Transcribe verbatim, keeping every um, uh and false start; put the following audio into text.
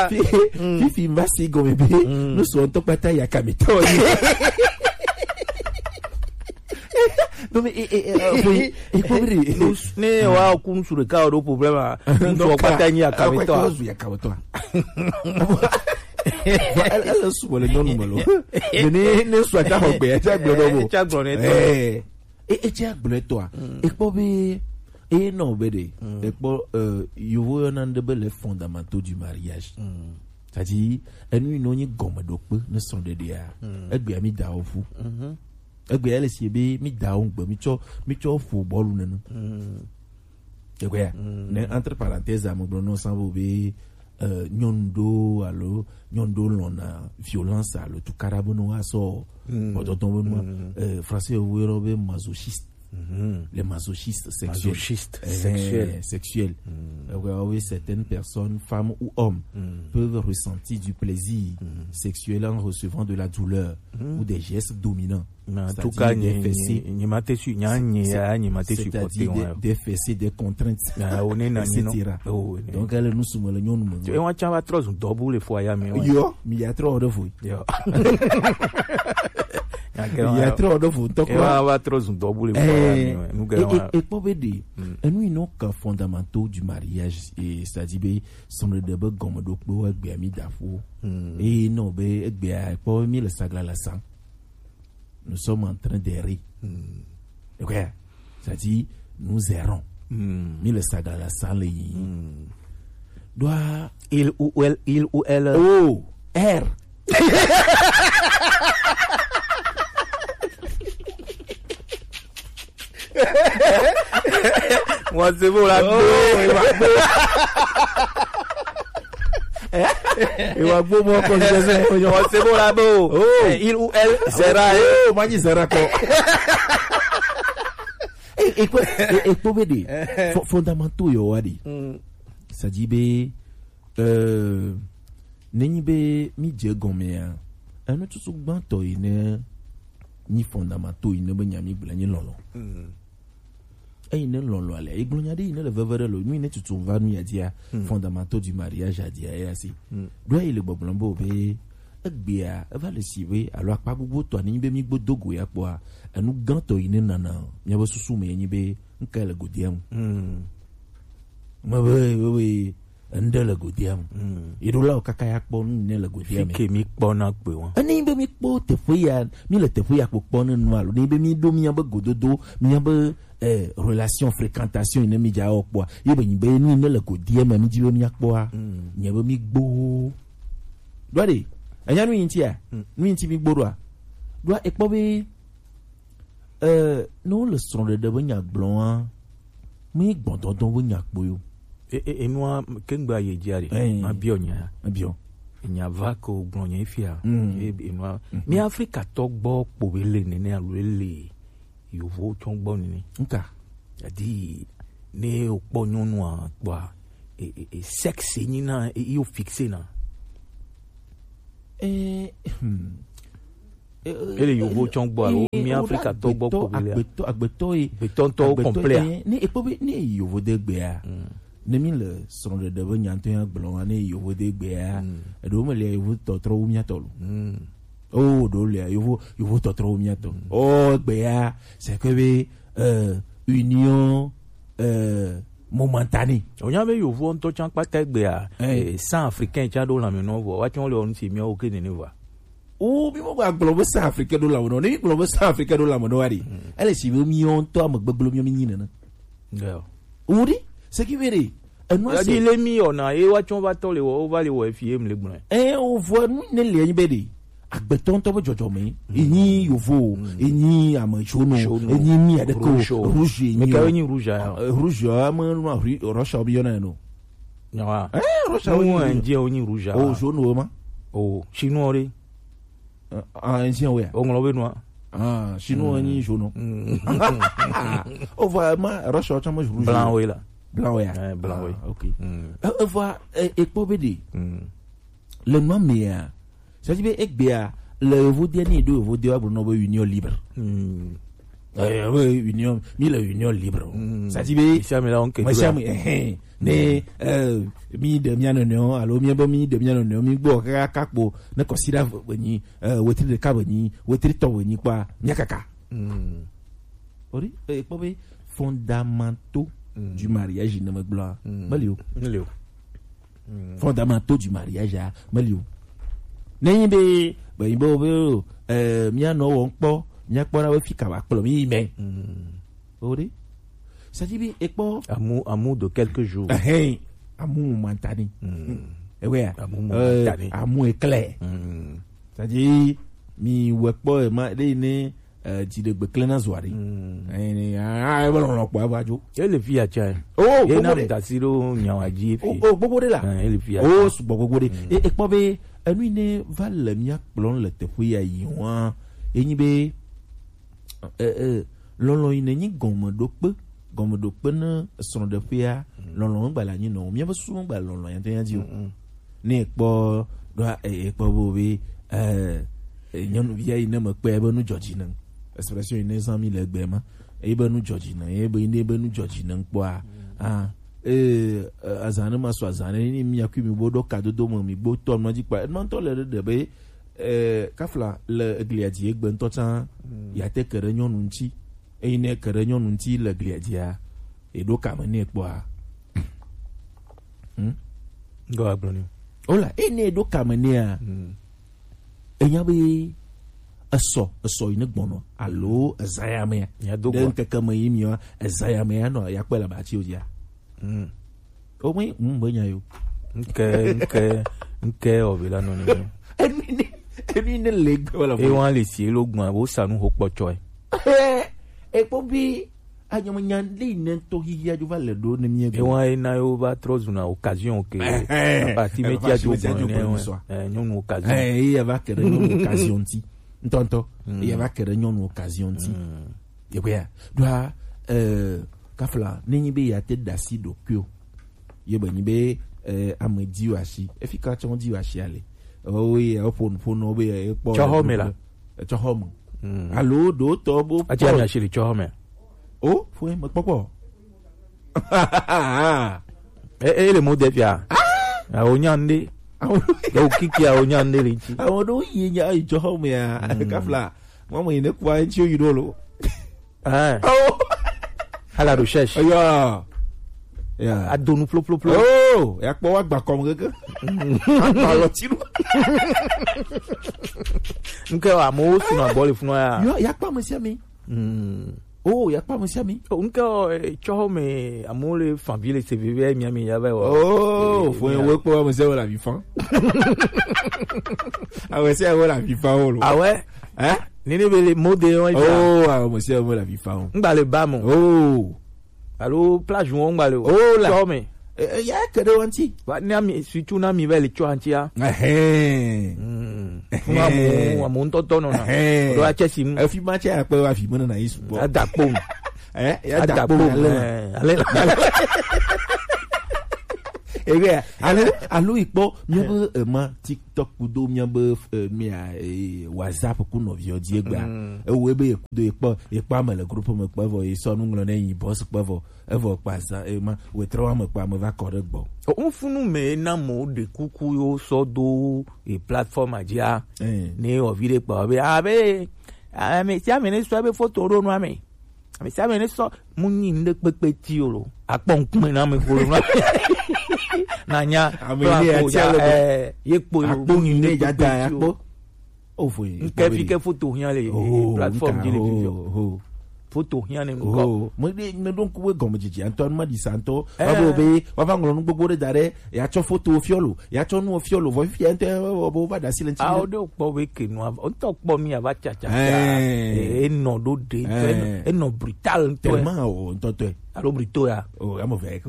Fi- fifi va si gɔme be nusrɔ̃tɔ kpata ya kamitɔ ye. Donc e e e e ko biri. Ne wa kun sure ka o do problème a. Nusrɔ̃ kpata ni akamitɔ. Zu ya kamitɔ. Ele ele sugbɔ le nyɔnu me lo. Ne ne sua ta xɔ gbe ya ta gblɔ dɔ bo. Ta gblɔ ne tɔ. Eh. E e ta gblɔ tɔ a. E kpɔ be e nɔ be de. E kpɔ eh, yovo yɔna ŋɖe be les fondamentaux du mariage. C'est-à-dire enu yi nɔ nyi gɔmeɖokpe ne srɔ̃ɖeɖea. Egbea mi da wo ƒu. Egbea ele si be mi da wo ŋgbe mi tsɔ mi tsɔ ƒo bɔlu nene. Egbea ne entre parenthèse ame gblɔ nɔ sanvo be eh, nyɔnu ɖewo alo nyɔnu ɖewo lɔ̃na violence alo tukaɖa be ne woasɔ kpɔtɔtɔ be nua eh, français wo yɔna be masochiste. Les masochistes sexuels. Masochiste sexuel. Sexuel. Euh, oui, certaines personnes, femmes ou hommes, peuvent ressentir du plaisir sexuel en recevant de la douleur ou des gestes dominants. Mais en tout cas, des fessées, des, des fessées, des contraintes, et cetera. Donc, elle nous soumet le nom. Et on tient à trop double fois, ya, mais yo, mais il y a trop de fois. Yo. Il y a trop de fois. Donc, on va trop double fois. Et, et, et pour aider, nous nous, quand fondamentaux du mariage, et c'est-à-dire, ben, son de be gɔmeɖokpe wa gbea mi da ƒu. Eye nɔ be egbea kpɔ mi le saglala sam. Nous sommes en train d'errer. Ekwea? C'est-à-dire nous errons. Mi le saglala sam le yi. Doa il ou elle, il ou elle. O R. Wọn se bo la gbo. Wọn se bo la gbo. Il ou elle sera. Oh, manyi sera ko. E e ko e e ko be de. Fondamentaux yo wa de. C'est-à-dire be euh nenyi be mi dze gɔmea. Enu tutu gbãtɔ yi ne nyi fondamentaux yi ne be nya mi gblẽ nyi lɔlɔ. Eyi ne lɔlɔ ale egblɔ nya ɖe yi ne le veve ɖe lo nu yi ne tutu va nu ya dia. Fondamentaux du mariage ya dia ya si. Ɖo yi le gbɔgblɔm be o be egbea eva le si be alo akpa gbogbo tɔ ne nyi be mi gbo do go ya kpɔa enu gãtɔ yi ne nana mia be susu me nyi be nka le godia mu. Me be be be ŋɖe le godia mu. Yeɖolawo kaka ya kpɔ nu ne le godia me. Fike mi kpɔ na gbe wa. Ene be mi kpɔ teƒe ya, mi le teƒe ya kpɔkpɔ ne nu alo ne be mi ɖo mia be gododo, mia be eh, relation fréquentation ne mi dza wɔ kpɔa. Ye be nyi be nu ne le godia me mi dzi be mia kpɔa. Nye be mi gbo. Ɖoa ɖe, enya nu yi ŋutia? Nu yi ŋuti mi gbo ɖoa? Ɖoa ekpɔ be Eh, ne wole srɔ̃ɖeɖe be nya gblɔa, mi gbɔdɔdɔ be nya kpo yo. E, e, enua kengba ye dzia ɖe. Eh. Ma biɔ nya. Ma biɔ. Nya va ko gblɔ nya fia. Mm. E, enua. Mi Afrika tɔ gbɔ kpo be le nene alo le yovo tɔ gbɔ nene. Nka. Adi ne o kpɔ nyɔnua kpɔa, e, e, e, sexe nyi na, e, yo fixe na. Eh, hmm. Ele yovo tsɔ gbɔ alo mi Afrika tɔ gbɔ ko bele. Agbetɔ agbetɔ ye. Agbetɔ ŋutɔ complet. Ne ekpɔ be ne yovo de gbea. Ne mi le srɔ̃ɖeɖe be nyantɔ ya gblɔ wa ne yovo de gbea. Eɖewo me le yovo tɔtrɔ wu mia tɔ lo. Oh ɖewo le yovo yovo tɔtrɔ wu mia tɔ. Oh gbea c'est que be euh, union euh, momentanée. Onya be yovo ŋutɔ tsã kpata gbea. Eh, sans africain tsã ɖo lãme nɔ vɔ wa tsã le ɔnu si miawo ke nene va. O mi mo gba gblɔ be sans africain ɖo lãme nɔ ne mi gblɔ be sans africain ɖo lãme nɔ wa ɖi. Ele si be mi ŋutɔ ame gbegblẽ mi mi nyi nene. O ɖi seki be ɖe enu ase. Yadi le mi yɔna ye wa tsɔ va tɔ le wɔ wo va le wɔ efi ye mi le gblɔ. Eh o vɔ nu ne le nyi be ɖe agbetɔ ŋutɔ be dzɔdzɔme enyi yovo enyi ame tsono enyi mi aɖeke o rouge enyi o. Rouge ya ame nua Russia bi yɔna no. Nyawa eh Russia wo nyi rouge o nyi rouge o jaune o ma o chinois re ah enyi o ya o ŋlɔ be nua ah chinois nyi jaune o va ma Russia o chama rouge blanc o la blanc o ya eh blanc o ok e va e kpɔ be de le nua mea c'est-à-dire be egbea le yovo dia ni do yovo dia wa gblɔ nɔ be union libre. Eh, oui, union, mi le union libre. Mm. Ça dit, mais, mais ça, mais là, on, mais ça, mais, eh, eh, mais, euh, mi de mia nɔnɔewo, alo mi be mi de mia nɔnɔewo, mi gbɔ kaka kakpo, ne kɔsiɖa be nyi, euh, wetri ɖeka be nyi, wetri tɔ be nyi kpa, mia kaka. Mm. Ori, eh, kpɔ be fondamentaux, mm, du mariage ne me gblɔ, mm, meli o. Meli o. Mm. Fondamentaux du mariage a, meli o. Ne nyi be, be nyi be, be, eh, mia nɔ wɔm kpɔ, mia kpɔ na be fi ka ba kplɔ mi yi mɛ. Mm. O de. C'est-à-dire, be, ekpɔ. Amour, amour de quelques jours. Amour momentané. Mm. Ewe ya. Amour momentané. Euh, amour éclair. Mm. C'est-à-dire, mi wɛ kpɔ, e ma, de ne, eh, dziɖegbe klẽ na zua ɖe. Mm. Eh, ne, ah, ah, ebe lɔlɔ̃ kpɔ ava dzo. Ye le fi ya tsa. Oh, ye na gbogbo ɖe. Mutasi ɖo nyawa dzi fi. Oh, oh, gbogbo ɖe la. Eh, ye le fi ya. Oh, sugbɔ gbogbo ɖe. Mm. E, ekpɔ be, enu yi ne va le mia kplɔm le teƒe ya yi wa, enyi be, eh, eh, lɔlɔ̃ yi ne nyi gɔmeɖokpe, gɔmeɖokpe ne srɔ̃ɖeƒea, mm, lɔlɔ̃ megba le anyi nɔ o. Miabe susu megba le lɔlɔ̃ ya ŋutɔ ya dzi o. Mm, mm. Ne ekpɔ ɖoa, e, ekpɔ bo be, eh, eh, nyɔnuvia yi ne mekpɔe ebe nu dzɔ dzi ne. Expression yi ne zã mi le egbe ma. Ebe nu dzɔ dzi ne, ebe yi ne ebe nu dzɔ dzi ne kpɔa. Ah, eh, eh, azã ne ma sɔ azã ne ni mi akui mi bo ɖo kadodo me mi gbo tɔ nɔ dzi kpa. Enɔ ŋutɔ le ɖe ɖe be, eh, kafla le eglia dzi egbe ŋutɔ tsã, mm, ya te ke ɖe nyɔnu ŋuti. Eyi ne ke ɖe nyɔnu ŋuti le eglia dzia, eɖo kame ne kpɔa. Hmm? Ŋgɔ agblɔ ni. Ola, eyi ne eɖo kame nea, mm, enya be esɔ, esɔ yi ne gbɔnɔ, alo ezã ya mea. Mia do ɖe gbɔ. Ŋkeke me yi mia, ezã ya mea nɔ ya kpɔe le abati o dzia. Mm. O me, mm, be nya yo. Ŋke, ŋke, ŋke o be la nɔ ni. Enu ne, enu ne le gbe wala. E wa le si lo gbɔn, wo sa nu ho kpɔtsɔe. E kpɔ bi, anyɔmɔ nya le ne to hihi ajo va le ɖo ne mi. E wa e na yo va trɔ zuna occasion ke. Eh, eh, papa si me tia jo gbɔn ne. Eh, nyɔnu occasion. Eh, e va ke ɖe nyɔnu occasion ti. Ŋutɔŋutɔ. Mm. E va ke ɖe nyɔnu occasion ti. Mm. Yeƒea, ɖoa, eh, kafla, ne nyi be ya te da asi ɖokuiwo. Ye be nyi be, eh, ame dziwo asi. Efi ka tsɔ dziwo asi ale. Ewo ye, ewo ƒo nu, ƒo nu be, eh, kpɔ. Tsɔ xɔ me la. Eh, tsɔ xɔ me. Mm. Alo ɖo tɔ bo. Ati ami asi le tsɔ xɔ me. O, fo me kpɔkpɔ. E, e le mo de fia. Ah! Awo nya nde. Awo. Awo kiki awo nya nde le ŋuti. Awo ɖo yi nya yi tsɔ xɔ me ya. Mm. Kafla. Mama yi ne kua ŋuti yi ɖo lo. Ah. Oh. À la recherche. Ya. Ya. Adonu plo, plo, plo. Oh, ya kpɔ wa gba kɔm keke. Agba lɔ ti nu. Nke wa mo sunu abɔ le funu ya. Yo, ya kpɔ ame sia ame. Mm. Oh, ya kpɔ ame sia ame. Oh, nke o, eh, tsɔ me amewo le fan vi le se veve mia me ya va wa. Oh, eh, fo mia. Wo kpɔ ame sia wo le avi fan. Ame sia wo le avi fan wo lo. Ah ouais? Hein? Nene be le mode wọn ja. Oh, ah, ame sia ame le avi fa o. Ŋgba le ba mo. Oh. Alo plage wọn ŋgba le o. Oh, la. Tsɔ me. Eh, eh, ya ke ɖe ŋuti. Wa, ne ami, surtout ne ami va le tsɔ ŋuti a. Ehɛn. Mm. Fún amu, amu ŋutɔtɔ nɔ na. Ehɛn. Ɖo atsɛ si mu. Efi ma tsɛ akpɛ wa fi me nɔ na yi sugbɔ. Ada kpom. Eh, ya da kpom. Ada kpom, ale. Eh, ale. Ebe, alo, alo ikpɔ, miabe, eh, ma, TikTok kudo miabe, eh, mia, eh, WhatsApp ku nɔviwo dzi egbea. Mm. Ewo ebe ye kudo ye kpɔ, ye kpɔ ame le group me kpɔ evɔ, ye sɔ nu ŋlɔ ne yi boss kpɔ evɔ, evɔ kpa za, eh, ma, wetrɔ ame kpa ame va kɔ ɖe gbɔ. O, ŋfunu me na mo ɖe kuku yo sɔ do e platform a dzia. Eh. Ne o vi ɖe kpa be, abe, ame sia ame ne sɔ ebe photo ɖo nua me. Ame sia ame ne sɔ mu nyi ŋɖe kpekpe ti o lo. Akpɔ ŋkume na ame kolo na. Na nya. Ame ne ya tia le. Eh, ye kpo yo. Akpɔ nyi ne ya da ya kpo. O fo ye. Nke fi ke photo hiã le, oh, platform nka, di le fi. Oh, oh. Photo hiã ne ŋkɔ. Oh, me de, me ɖo ŋku be gɔmedzedze ŋutɔ, me ɖi sa ŋutɔ. Eh. Abo be, wa va ŋlɔ nu gbogbo ɖe da ɖe, ya tsɔ photo fiɔ lo. Ya tsɔ nu fiɔ lo, vɔ fifia ŋutɔ, wo, wo, wo va ɖe asi le ŋuti. Awo ɖe kpɔ be ke nua, ŋutɔ kpɔ mi ava tsatsa. Eh. Eh, enɔ ɖo ɖe, eh, enɔ, enɔ brutal ŋutɔ. Tellement o, ŋutɔ tɔe. Alo brutal ya. Oh, ame ve ke.